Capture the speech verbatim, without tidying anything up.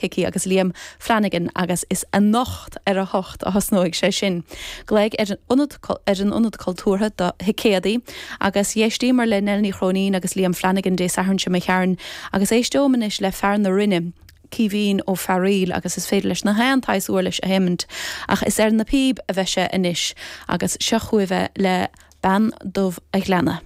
Hickey agus Liam Flanagan agus is anocht ar a hocht a thosnóidh sé sin. Glaoigh ar an ionad ar an ionad cultúrtha do thicéadaí agus d'éisteamar le Nell Ní Chróinín agus Liam Flanagan Dé Sathairn seo imigh tharainn agus éisteom anois le fear na Rinne. Caoimhín Ó Fearaíl agus is féidir leis na haon tsaghas uirlis a sheinnt ach is ar na píob a bheidh sé anois agus seo chugaibh le Bean Dubh a' Ghleanna.